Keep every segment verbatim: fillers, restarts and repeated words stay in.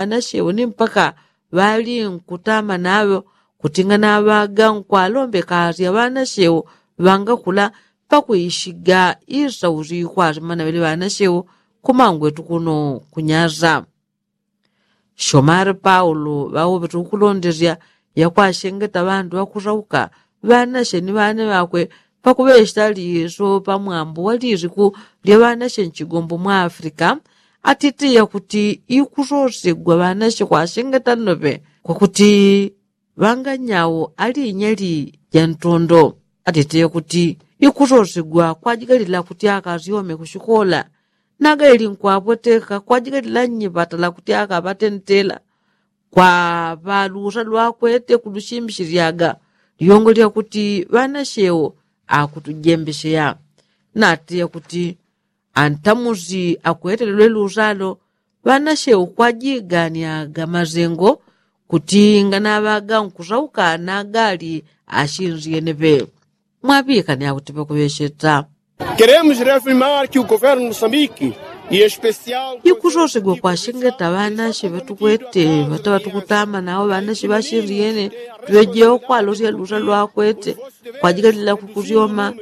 ŵanachewo ni mpaka ŵali nkutama naŵo kutingana ŵaga nkwalombeka asya ŵanachewo ŵangakula pakuishiga isauzi kwasimana ŵele ŵanachewo kumangwetu kuno kunyaza. Shomari paulo ŵaŵoŵetu kulondesya yakwashengeta ŵandu ŵakusauka ŵanache ni ŵane ŵakwe pakuŵesheta liso pamwambo wa lisiku lya ŵanache nchigombo mwa afrika. Atite yakuti ikusosegwa ŵanache kwashengeta nnoŵe kwakuti ŵanganyau alinyali jantondo. Atite yakuti ikusosegwa kwajigalila kuti akasyome kushikola naga ili nkwapweteka kwajigalila nnyipatala kuti akaŵatentela kwa ŵalusa lwakwete kulushimbishilyaga. Lyongo lyakuti ŵanachewo akutujembesheya nati yakuti antamusi akwete lwelwe lusalo ŵanachewo kwajiganyaga masengo kuti nganaŵaga nkusauka nagali ashinsyene ŵe. Mwaŵikane akuti ŵakuŵecheta. Keremos reafirmar ki ugoverno mosambiki ikusosegwa kwashengeta ŵanache ŵatukwete ŵataŵa tukutama nawo ŵanache ŵashinsyene tuŵejewo kwalosya lusa lwakwete kwajigalila kukusyoma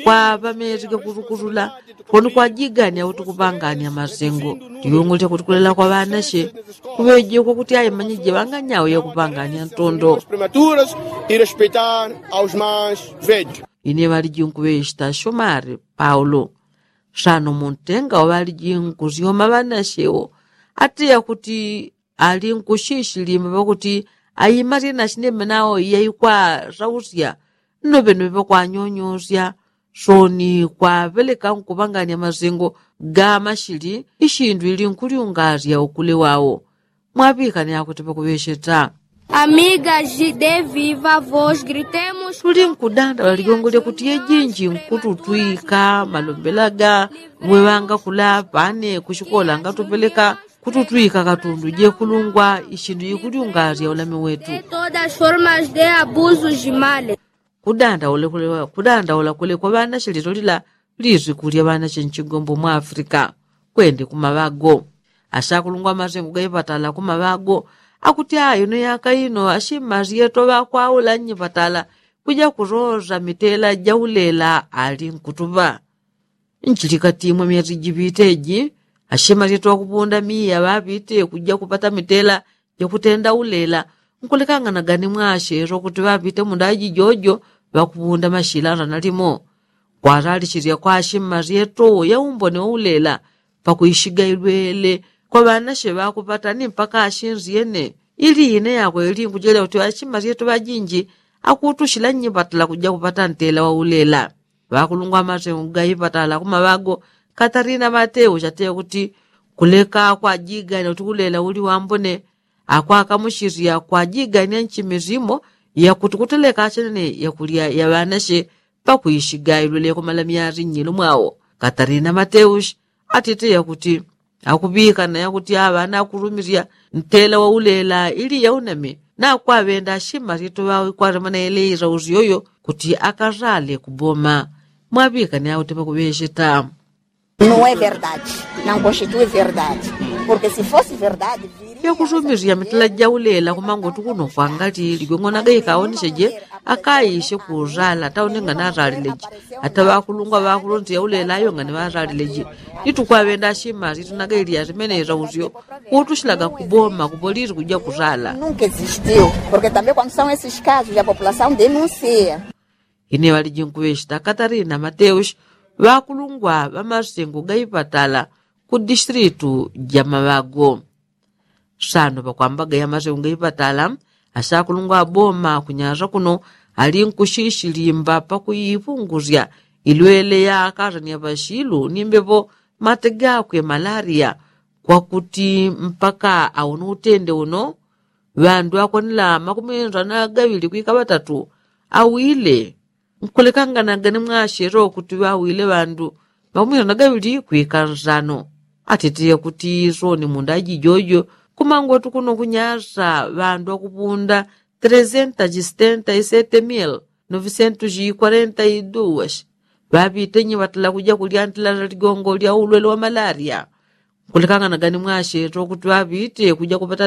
kwa ŵamesi gakusukusula. Poni kwajigania kuti kupangania masengo. Liungu lya kuti kulela kwa ŵanache kuŵejekwa kuti aimanyije ŵanganyau yakupangania ntondo. Ine ŵalijinkuŵechita shomari paulo. Sano muntenga wa ŵalijinkusyoma ŵanachewo ati yakuti ali nkushishilimba pakuti aima syena shinembe nawo yaikwasausia. Nnoŵe nnoŵe pakwanyonyosya soni kwaŵeleka nkupangania masengo ga mashili ishindu ili nkulyungasya ukule wawo. Mwaŵikane akuti pakuŵecheta. Amiga jide viva vos gritemos tuli nkudanda ŵaligongo lyakuti yejinji nkututwika malombelaga. Ngwe ŵangakula pane kushikola ngatupeleka kututwika katundu jekulungwa ishindu jikulyungasya ulame wetu. Todas formas de abusu jimale. Kudandaula kulekwa ŵanache lilolila lisiku lya ŵanache nchigombo mwa afrika. Kwende kumaŵago ashakulungwa masengo gaipatala kumaŵago akuti aino yaka ino ashimmasyeto ŵakwaula nnyipatala kuja kusosa mitela jaulela ali nkutuŵa. Nchilikati mwa myezi jiŵite ji ashemasyetu ŵakupunda miya ŵaŵite kuja kupata mitela jakutenda ulela. Nkulekangana gani mwacheso kuti ŵaŵite mundaji jojo ŵakupunda mashila nsanalimo. Kwasalishisya kwa ashemasyetu yaumbone waulela pakuishiga ilwele kwa ŵanache ŵakupata ni mpaka ashinsyene. Ili ine yakwe ili nkujelya kuti ashemasyetu ŵajinji akutushila nnyipatala kuja kupata ntela waulela. Ŵakulungwa amasengu gaipatala kumaŵago katarina mateu chateya kuti kuleka kwajigania kuti ulela uli wambone. Akwakamuchisya kwajigania nchimi simo yakuti kuteleka achenene yakulya ya ŵanache pakuishiga ilwele kumala myasi nnyilo mwawo. Katarina mateu atite yakuti akuŵikana yakuti aŵana akurumisya ntela waulela ili yauname nakwaŵenda ashimasyetu ŵawo ikwatemana yeleisa usyoyo kuti akasale kuboma. Mwaŵikane akuti pakuŵecheta. Não é verdade. Não constitui verdade. Porque se fosse verdade yakusumisya mitela jaulela kumangotu kuno kwangali ligweng'onaga ikaoneseje akaishe kusala taunenga nasalileji. Ata ŵakulungwa ŵakulonse yaulela ayonga ni ŵasalileji. Ni tukwaŵenda ashimasi tunaga ili asimene isausyo kutushilaga kuboma kupolisi kuja kusala. Nunka existiu. Porque tambe kwando são esses casos a populasaun denunsia. Ine ŵalijinkuŵechita katarina mateus ŵakulungwa ŵamasengu gaipatala ku distritu ja maŵago. Sano pakwambaga yamasengu gaipatala ashakulungwa aboma kunyasa kuno ali nkushishilimba pakuipungusya ilwele ya akasania ŵashilu ni mbepo mate gakwe malaria. Kwakuti mpaka awono utende uno ŵandu akwanila makumi nsana gaŵili kwika ŵatatu awile. Nkulekanganaga ni mwashero kuti ŵawile ŵandu makumi nsana gaŵili kwika nsano. Atitiye kuti soni mundaji jojo kumangotu kuno kunyasa ŵandu akupunda tresenta chisitenta isete mil novisentu chikwarenta iduwasi. Ŵaŵitenyi ŵatala kuja kulyantila ligongo lya ulwele wa malaria. Nkulekanganaga ni mwashero kuti ŵaŵite kuja kupata